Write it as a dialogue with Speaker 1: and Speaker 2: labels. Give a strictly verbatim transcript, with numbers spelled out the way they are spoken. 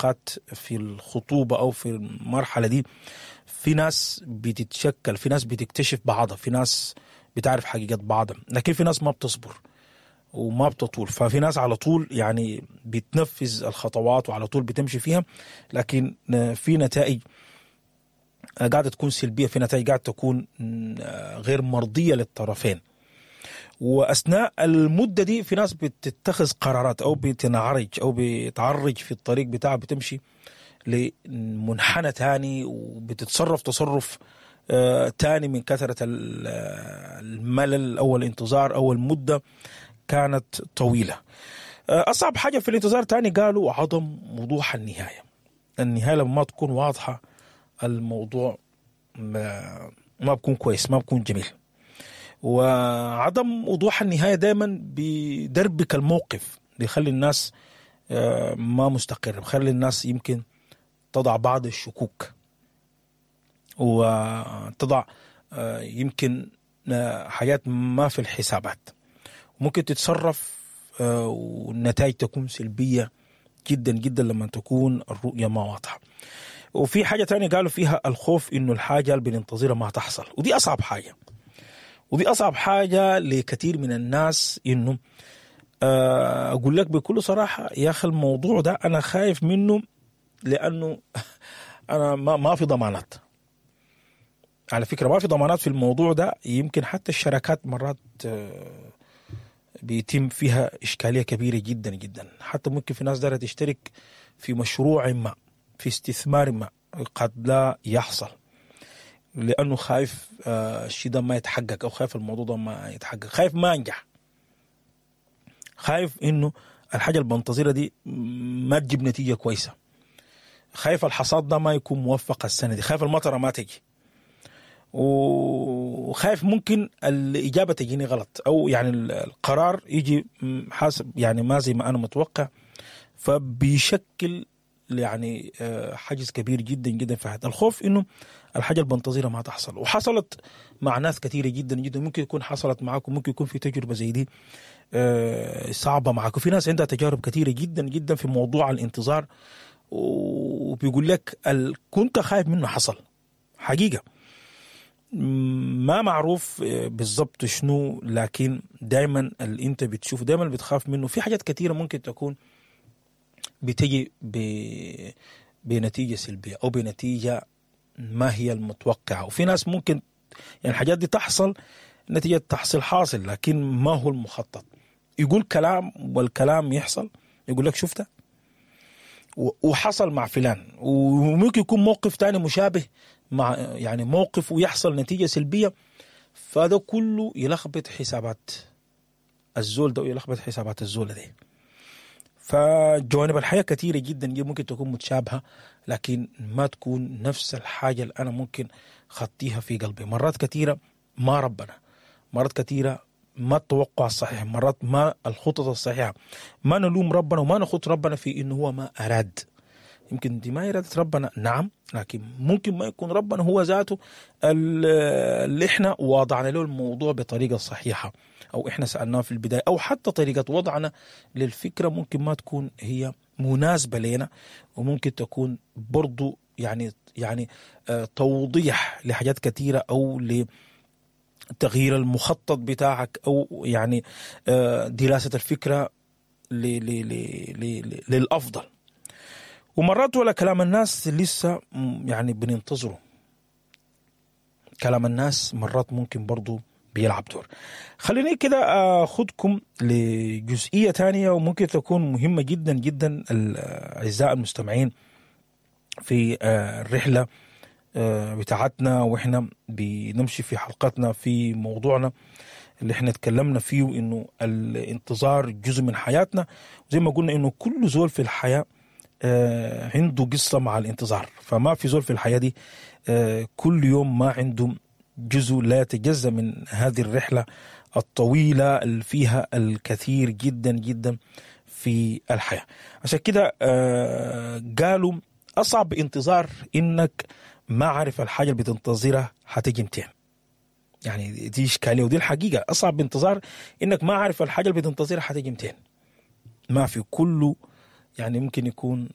Speaker 1: العلاقات في الخطوبة أو في المرحلة دي في ناس بتتشكل، في ناس بتكتشف بعضها، في ناس بتعرف حقيقة بعضها، لكن في ناس ما بتصبر وما بتطول. ففي ناس على طول يعني بتنفذ الخطوات وعلى طول بتمشي فيها، لكن في نتائج قاعدة تكون سلبية، في نتائج قاعدة تكون غير مرضية للطرفين. وأثناء المدة دي في ناس بتتخذ قرارات أو بتنعرج أو بتعرج في الطريق بتاعها، بتمشي لمنحنى تاني وبتتصرف تصرف آه تاني من كثرة الملل أو الانتظار أو المدة كانت طويلة. آه أصعب حاجة في الانتظار تاني قالوا عدم وضوح النهاية. النهاية لما ما تكون واضحة الموضوع ما, ما بكون كويس، ما بكون جميل. وعدم وضوح النهاية دايما بيدربك الموقف، بيخلي الناس آه ما مستقر، بيخلي الناس يمكن تضع بعض الشكوك وتضع يمكن حاجات ما في الحسابات، ممكن تتصرف والنتائج تكون سلبية جدا جدا لما تكون الرؤية ما واضحة. وفي حاجة تانية قالوا فيها الخوف إنه الحاجة اللي بننتظرها ما تحصل، ودي أصعب حاجة، ودي أصعب حاجة لكثير من الناس. إنه أقول لك بكل صراحة يا أخي الموضوع ده أنا خايف منه، لأنه أنا ما ما في ضمانات. على فكرة ما في ضمانات في الموضوع ده، يمكن حتى الشراكات مرات بيتم فيها إشكالية كبيرة جدا جدا. حتى ممكن في ناس دارة تشترك في مشروع ما، في استثمار ما، قد لا يحصل لأنه خايف الشيء ده ما يتحقق، أو خايف الموضوع ده ما يتحقق، خايف ما أنجح، خايف إنه الحاجة اللي بنتظرها دي ما تجيب نتيجة كويسة، خايف الحصاد ده ما يكون موفق السنة دي، خايف المطرة ما تجي، وخايف ممكن الإجابة تجيني غلط، أو يعني القرار يجي حاسب يعني ما زي ما أنا متوقع. فبيشكل يعني حاجز كبير جدا جدا في حياتي الخوف إنه الحاجة اللي بنتظرها ما تحصل. وحصلت مع ناس كثيرة جدا جدا، ممكن يكون حصلت معاكم، ممكن يكون في تجربة زي دي صعبة معاكم. في ناس عندها تجارب كثيرة جدا جدا في موضوع الانتظار، وبيقول لك كنت خايف منه حصل حقيقة، ما معروف بالضبط شنو، لكن دايما اللي انت بتشوفه دايما بتخاف منه. في حاجات كثيرة ممكن تكون بتجي بنتيجة سلبية أو بنتيجة ما هي المتوقعة، وفي ناس ممكن يعني الحاجات دي تحصل نتيجة تحصيل حاصل، لكن ما هو المخطط. يقول كلام والكلام يحصل، يقول لك شفته وحصل مع فلان، وممكن يكون موقف تاني مشابه مع يعني موقف ويحصل نتيجة سلبية. فده كله يلخبط حسابات الزول ده ويلخبط حسابات الزول ده. فجوانب الحياة كثيرة جدا ممكن تكون متشابهة، لكن ما تكون نفس الحاجة اللي أنا ممكن خطيها في قلبي. مرات كثيرة ما ربنا، مرات كثيرة ما التوقع الصحيح، مرات ما الخطط الصحيحة. ما نلوم ربنا وما نخط ربنا في إنه هو ما أراد. يمكن دي ما إرادة ربنا، نعم، لكن ممكن ما يكون ربنا هو ذاته اللي إحنا وضعنا له الموضوع بطريقة صحيحة، أو إحنا سألناه في البداية، أو حتى طريقة وضعنا للفكرة ممكن ما تكون هي مناسبة لنا، وممكن تكون برضو يعني يعني توضيح لحاجات كثيرة، أو لتغيير المخطط بتاعك، أو يعني دراسة الفكرة للأفضل. ومرات ولا كلام الناس لسه يعني بننتظره، كلام الناس مرات ممكن برضو بيلعب دور. خليني كده أخذكم لجزئية تانية وممكن تكون مهمة جدا جدا الأعزاء المستمعين في الرحلة بتاعتنا وإحنا بنمشي في حلقتنا في موضوعنا اللي احنا اتكلمنا فيه، إنه الانتظار جزء من حياتنا. وزي ما قلنا إنه كل زول في الحياة عنده قصة مع الانتظار، فما في زول في الحياة دي كل يوم ما عنده جزء لا يتجزأ من هذه الرحلة الطويلة اللي فيها الكثير جدا جدا في الحياة. عشان كده قالوا أصعب انتظار إنك ما عارف الحاجة اللي بتنتظرها هتجي متين. يعني دي إشكالية ودي الحقيقة، أصعب انتظار إنك ما عارف الحاجة اللي بتنتظرها هتجي متين. ما في كله يعني ممكن يكون